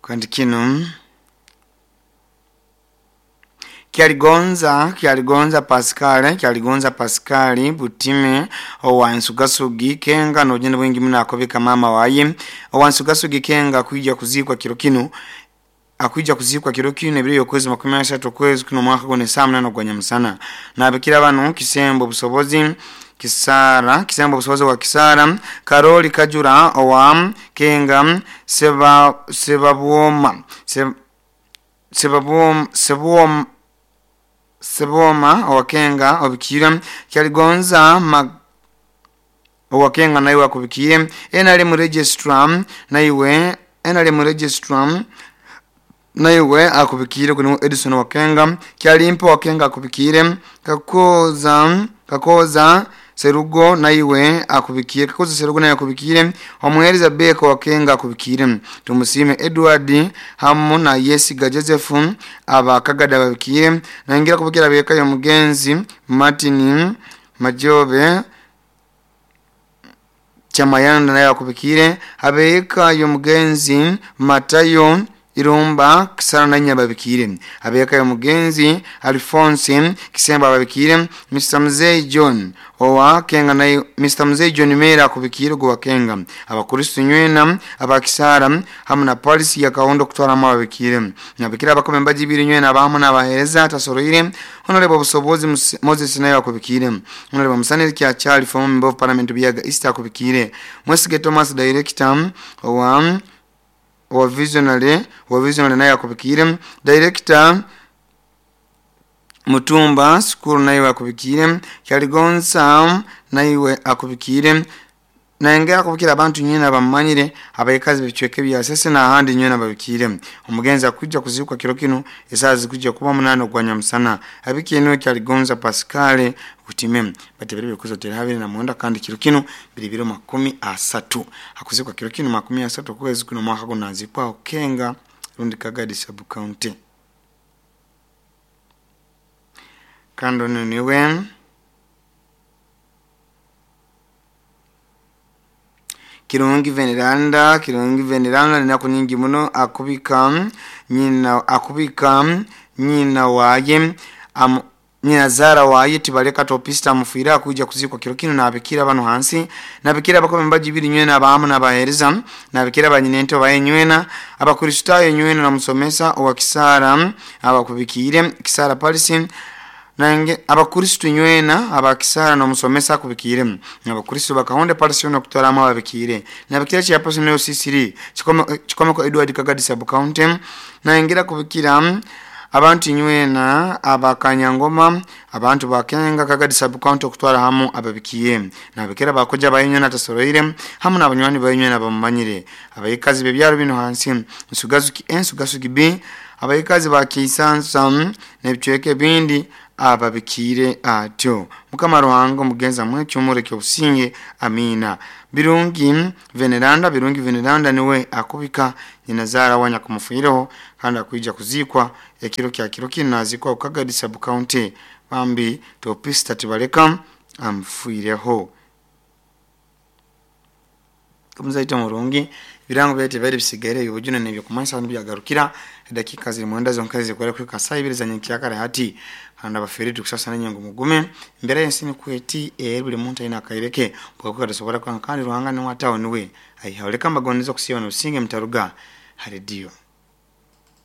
Kandi kinu Kyaligonza, Kyaligonza Pascal, Kyaligonza Pascal Butime owa Nsugasugi Kenga nogenda bwingi muno akobeka mama waye owa Nsugasugi Kenga kwija kuzikwa kiro kinu, akwija kuzikwa kiro kinu ebiro yokwezi 30 okwezi kuno omwaka guno esaa 8 ogwa nyamusana. Nabikira banu Kisembo Busobozi Kisara, Kisembo Busobozi wa Kisara, Karoli Kajura owa Kenga, Seba Sebabwoma Sebabwoma Sebwoma Seboma owakenga obikire, Kyaligonza owakenga naiwe akubikire, NRM registrar naiwe, NRM registrar naiwe akubikire kuno Edison wakenga, Kyalimpa wakenga akubikire, Kakoza Kakoza Serugo naiwe akubikire, Kakoza Serugo naye akubikire, Omuhereza Beko wakenga akubikire, Tumusime Edward hamu na Yesiga Joseph abakagada babikire, nangira kubikira beka yo mugenzi Martin Majobe Chamayanda naye akubikire, abeka yo mugenzi Matayo Irumba Kisara nanya babikire, abeka yo mugenzi Alphonse Kisemba babikire, Mr Mzee John owa Kenga naye Mr Mzee John Mera akubikire gwa Kenga, abakristo nywena abakisara hamu na polisi ya Kaondo kutwala mu babikire, nabikira abakome mbajibiri nywena abamu n'abahereza tasoroire. Honorable Busobozi Moses naye akubikire, Honorable Musanire kya Charlie former member of parliament Biaga East akubikire, Mwesige Thomas director owa visionary, wa visionary naye akubikire, director Mutumba Sukuru naye akubikire, Kyaligonza naiwe akubikire, nengera kubikira abantu nyina bamanyire abayikazi bicweke bya sese na handi nyina babikire. Omugenzi akujja kuzikwa kiro kino esaa zikujja kuba 8 ogwa nyamusana. Abikiye Kyaligonza Pascal Butime batebere bikuzo terahabire na mwenda kandi kiro kino biri 30 akuzikwa kiro kino 30 kwezi kuno mwaka gunazikwa Kenga rundi Kagadi sub county. Kando niwe Kirungi Veneranda, Kirungi Veneranda ninaku nyingi muno akubika nyina, akubika nyina waye nyina zara waye tibaleka topista mufira akuja kuzikwa kiro kino nabikira bano hansi, nabikira bakome mbaji biri nywena abamu n'abahereza, nabikira banyinento baye nywena abakristayo nywena na musomesa owa Kisara abakubikire Kisara Palisi nange abakristo nywena abakisara no musomesa akubikire, abakristo bakahonde Palisi no kutwala ababikire, nabikira cha personal CCD chikomeko Edward Kagadi sub county nangira kubikira abantu nywena abakanyangoma abantu bakenga Kagadi sub county okutwala hamu ababikiye, nabikira bakoja bayinywe tasoroire hamu n'abanywani bayinywe nabamanyire abayikazi bebyaro bino hansi Nsugasugi A Nsugasugi B abayikazi bakisansa n'ebicweke bindi ababikire atyo. Mukama Ruhanga omugenza mwekyomureke obusinge amina. Birungi Veneranda, Birungi Veneranda niwe akubika nyina zara wanya kumufireho kandi akuija kuzikwa ekiro kya kiro kino nazikwa Kagadi sub county bambi topista tibaleka amfuireho. Kumuzaita murungi birango byete bari bisigaire ibujuna nebyo kumansa n'byagarukira dakika ziri mwenda zonkazi zikwera kwika saa ibiri za nyankiyakare hati kandi abafere tukusasa nanyengo mugume mbere y'ensini kweti buli muntu aina akaireke bwakuka tasobora kwa kandi Ruhanga ni watawo niwe aihauleka mbagonizo kusiba n'usinge mtaruga haredio.